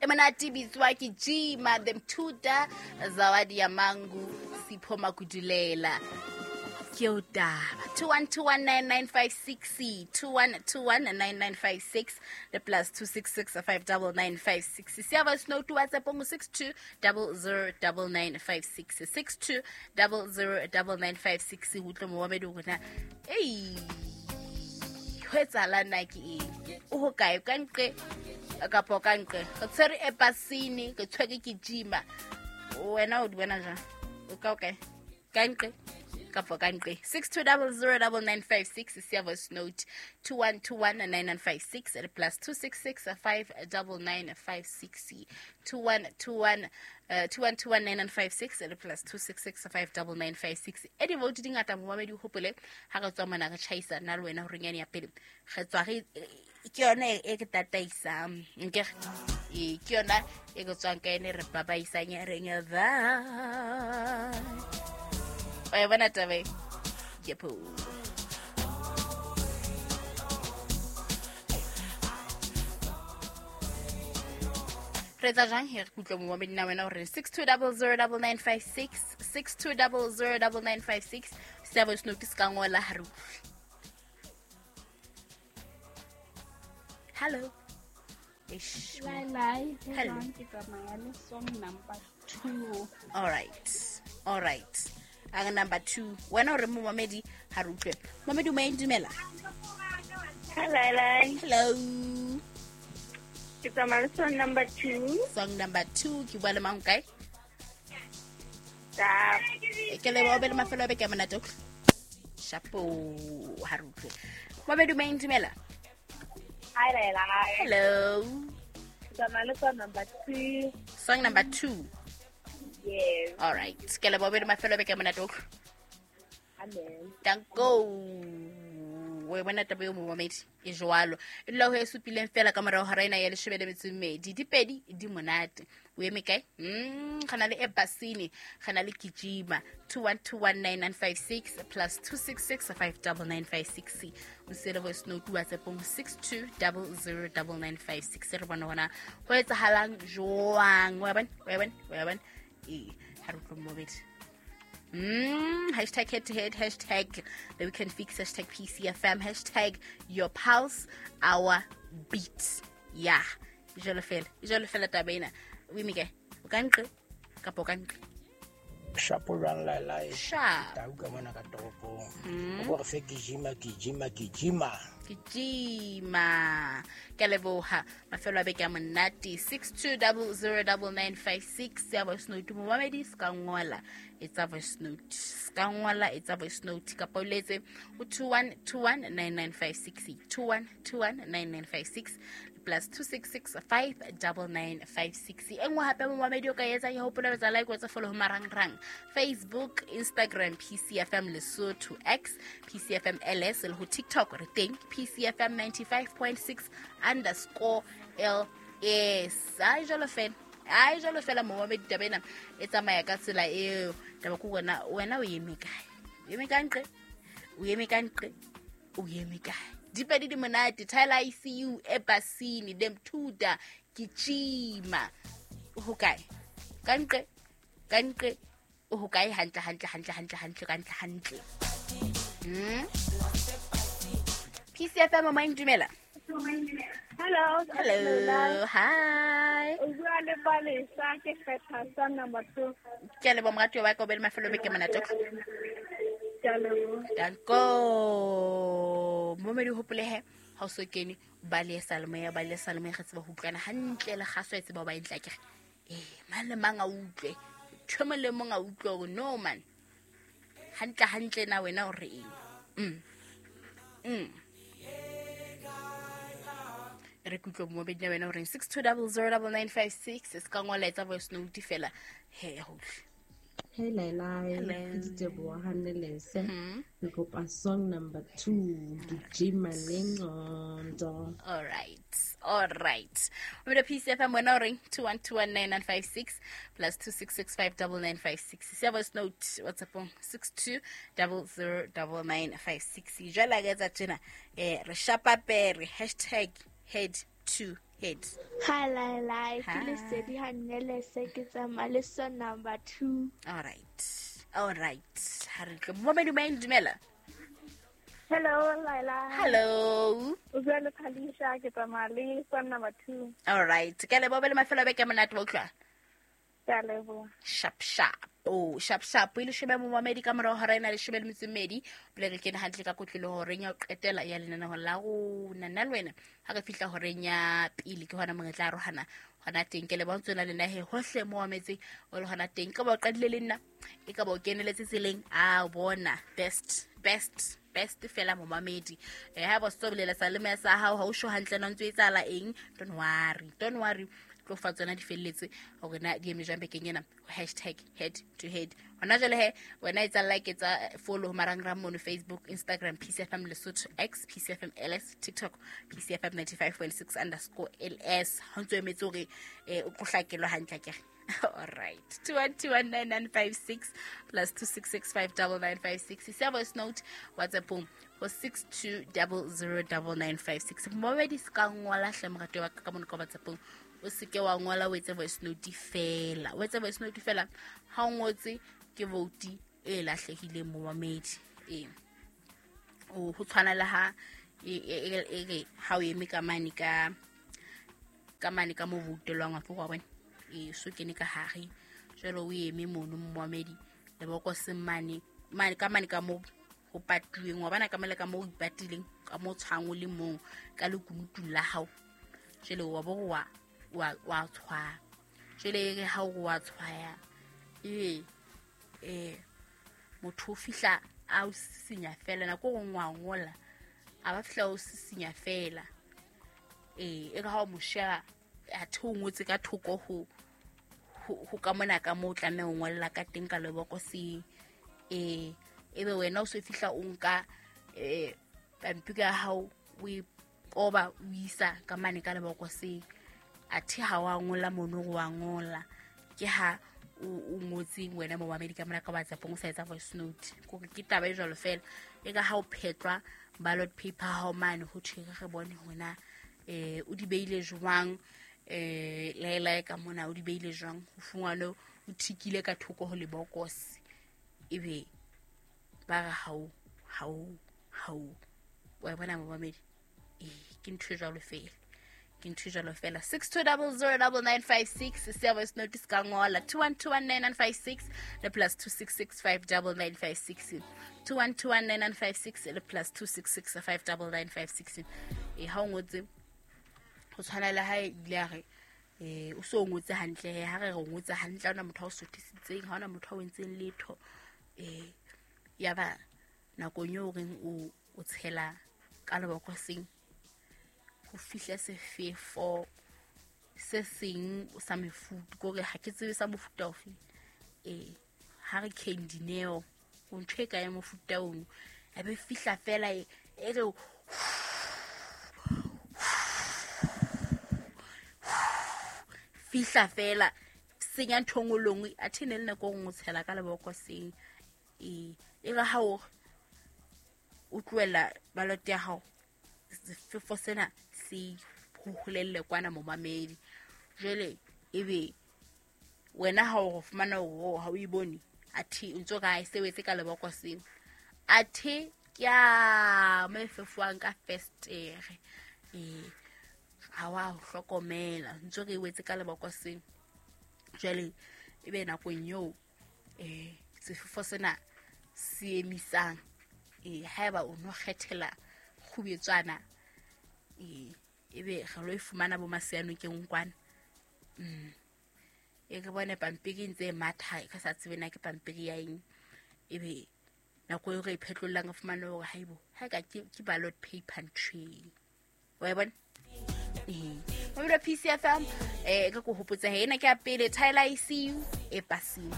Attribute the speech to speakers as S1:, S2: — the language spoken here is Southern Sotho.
S1: E monate bitswa ke Jima the Mthuta Zawadi ya Mangu Sipho Makudulela. Ke o taba 21219956 21219956 le plus 266599956 siya voice note WhatsApp ngo 62009956 62009956 utlwe momamedi rona ei ho etsahalang na ke eng o ho kae ka nqe kapa ka nqe re tshwere epasini re tshwere ke jima wena o di bona jang o ka o kae ka nqe kapa ka nqe 62009956 siya voice note 21219956 le plus 266599956 2121 21219956 le plus 266599956 e di-vote di ngata momamedi o gopole ga re tswa mona re tšhaisa nna le wena goreng yane ya pele re tswa re ke yone e ke tataisang nkere ee ke yona e ke tswang ka ene re babaisang ya reng ba o e bona taba e yepo. Re etsa jang he re kutlwe momamedi na wena gore 62009956 62009956 se voice note se ka ngola ha re utlwe. Hello. Eish.
S2: Lai lai,
S1: Hello.
S2: ke tsamaya le song number 2.
S1: All right. All right. A number 2. Wena o re momamedi ha re utlwe. Momamedi o mo dumela.
S3: Hi, Lai.
S1: Hello.
S3: Ke tsamaya le song number 2.
S1: Song number 2 ke bua le mang kae?
S3: Tap.
S1: Ke leboha o be le mafelo a beke a monate. Shapo ha re utlwe. Momamedi o mo dumela.
S3: Hi, Lai.
S1: Hello.
S3: Ke tsamaya le song number 2.
S1: Song number 2.
S3: Yes.
S1: All right. Ke leboha o be le mafelo a beke a monate.
S3: Amen.
S1: Danko. O e bona taba eo momamedi e jwalo. E dula ho e supileng fela ka morao hora ena ya leshome le metso e mmedi. Dipedi di monate. O eme kae? Re na le Ebasini, re na le Gijima 21219956 plus 266599956. O siele voice note WhatsApp-ong 62009956. Re bone hona ho etsahalang jwang. Wa bona? Wa bona? Wa bona? Ee, ha re utlwe momamedi. Hashtag head to head, hashtag the weekend fix, hashtag PCFM, hashtag your pulse, our beat. Yeah. Jalo fela. Jalo fela taba ena. O eme kae? O ka nqe? Kapa o ka nqe?
S4: Shapo jwang Lai?
S1: Sharp.
S4: Tau ka mona ka toropong. O bo re fe Gijima, Gijima, Gijima.
S1: Gijima. Ke a leboha. Mafelo a beke a monate. 62009956 ya voice note. Momamedi se ka ngola etsa voice note. Se ka ngola etsa voice note. Kapa o letse ho 21219956 21219956 plus 266599956. E nngwe hape momamedi o ka etsang ya hopola ho etsa like, o etsa follow ho marangrang Facebook, Instagram, PCFM Lesotho, X, PCFM LS le ho TikTok re teng PCFM 95.6 underscore LS. Ai jwalo fela. Ai jwalo fela momamedi taba ena e tsamaya ka tsela eo. Taba ke wena, wena o eme kae? O eme ka nqe? O eme ka nqe? O eme kae? Dipedi di monate, Tyler ICU, Ebasini, Demthuta, Gijima. O ho kae? Ka nqe? Ka nqe? O ho kae hantle, hantle, hantle, hantle, hantle, hantle, hantle. PCFM mama dumela.
S3: Hello.
S1: Hello. Hi.
S3: O bua le Palesa ke kgetha song number 2.
S1: Ke a leboha moratuwa wa ka o be le mafelo a beke a monate.
S3: Ke a leboha.
S1: Danko. Momedi o hopole he ha o so kene ba le salemoya, ba le salemoya re tseba ho utlwana hantle le kgaso e tseba ho ba e ntle akere. Mang le mang a utlwe. Ntho e mong le mong a utlwe hore no man. Hantle hantle na wena o re eng? Re kutlwe momedi na wena o reng 62009956 se ka ngola etsa voice note fela he ho utlwe.
S5: Hey Laila,
S1: Hello.
S5: ke Diteboho Hanelese. Ke kopa song number 2, Gijima le Ngqondo.
S1: All right. All right. O PCFM wena o reng 21219956 plus 266599956. Siya voice note WhatsApp 62009956. Jwale ka etsa tjena, re shapa pere hashtag head to Head.
S3: Hi Laila, ke
S1: Hi.
S3: Lesedi Hanelese, ke tsamaya le song number 2.
S1: All right. All right. Ha re tle. Momamedi maeng dumela.
S3: Hello Laila.
S1: Hello.
S3: O bua le Phalisha, ke tsamaya le song number 2.
S1: All right. Ke a leboha le mafelo a beke a monate wa utlwa.
S3: Ke a leboha.
S1: Sharp sharp. Oh, sharp sharp. E leshome momamedi ka morao hora ena 12. Pele re kene hantle ka kotlolo horeng ya ho qetela ya lenaneo la rona. Nna le wena ha re fihla horeng ya pele ke hona mo re tla arohana hona teng. Ke leboha ntse o na le nna he hohle mo mametseng o le hona teng. Ka ba o qadile le nna, e ka ba o keneletse tseleng, a bona best best best fela momamedi. Ha ba se bolela sa le sa hao ha o sho hantle na o ntso etsahala eng, don't worry, don't worry. Tlo fa tsona di felletse hore na di eme jwang bekeng ena ho hashtag head to head. Hona jwale he wena etsa like, etsa follow marangrang mono Facebook, Instagram PCFM Lesotho, X PCFM LS, TikTok PCFM 95.6 underscore LS. Ha ntso emetse hore o tlo hlakelwa hantle akere. All right. 21219956 plus 26659956. Isa voice note WhatsApp ho 62009956. Momamedi se ka ngola hle morati wa ka mono ka WhatsApp. O seke wa ngola o etse voice note fela. O etse voice note fela ha o ngotse ke vote e lahlehileng momamedi. Ee. O ho tshwana le ha e re ha o eme ka mane ka mane ka mo voutelwang wa tlo wa bona. E so kene ka hare jwale o eme mono momamedi lebokoseng mane mane ka mane ka mo ho patuweng wa bona ka mole ka mo o ipatileng ka mo tshwang o le mong ka lekunutung la hao. Jwale wa bo wa wa tshwaya. Jwale e re ha o wa tshwaya e motho o fihla a o sisinya fela nako e nngwe wa ngola a ba fihla o sisinya fela. E re ha o mo sheba athe o ngotse ka thoko ho ka mona ka moo o tlameha ho ngolla ka teng ka lebokoseng. Ebe wena o so fihla o nka pampiri ya hao o e koba o isa ka mane ka lebokoseng. Athe ha wa ngola mono wa ngola ke ha o ngotse wena momamedi ka mona ka WhatsApp o sa etsa voice note. Kore ke taba e jwalo fela e ka ha o phetlwa ballot paper ha o mane ho thwe re bone hore na o di beile jwang, laela ka mona o di beile jwang, ho fungwane o thikile ka thoko ho lebokose ebe ba re hao hao hao wa bona momamedi. Ke ntho e jwalo fela. Ke ntho e jwalo fela. 62009956 se voice note se ka ngola 21219956 le plus 26659956 21219956 le plus 26659956. Ha o ngotse ho tshwana le ha ile a re o so ngotse hantle ha re re ngotse hantle ha ona motho a o sothisitseng, ha ona motho a o entseng letho. Ya ba nakong eo reng o tshela ka lebokoseng ho fihla sefefo se seng sa mefuta kore ha ke tsebe sa mofuta ofe. Ha re Candineo o ntho e ka ya mofuta ono a be fihla fela e re fihla fela senya ntho nngwe le nngwe athe ne le nako e nngwe o tshela ka lebokoseng. E re ha o tlohela ballot ya hao sefefo sena se holelle kwana momamedi. Jwale ebe wena ha o fumana hore ha o e bone athe o ntso ka e sebetse ka lebokoseng athe ke a mo e fefoang ka festere. Ha wa ho hlokomela ntso re wetse ka lebokoseng. Jwale ebe nakong eo sefefo sena se emisang haeba o no kgethela kgubetswana ebe re lo e fumana bo Masianokeng kwana. E re bone pampiri ntse e matha e ka sa tsebe na ke pampiri ya eng. Ebe nako eo re e phetlollang re fumane hore haibo ha ka ke ballot paper ntho e wa e bona. Mobile PCFM ka ko hopotsa he ena ke ya pele Tyler ICU e pasing.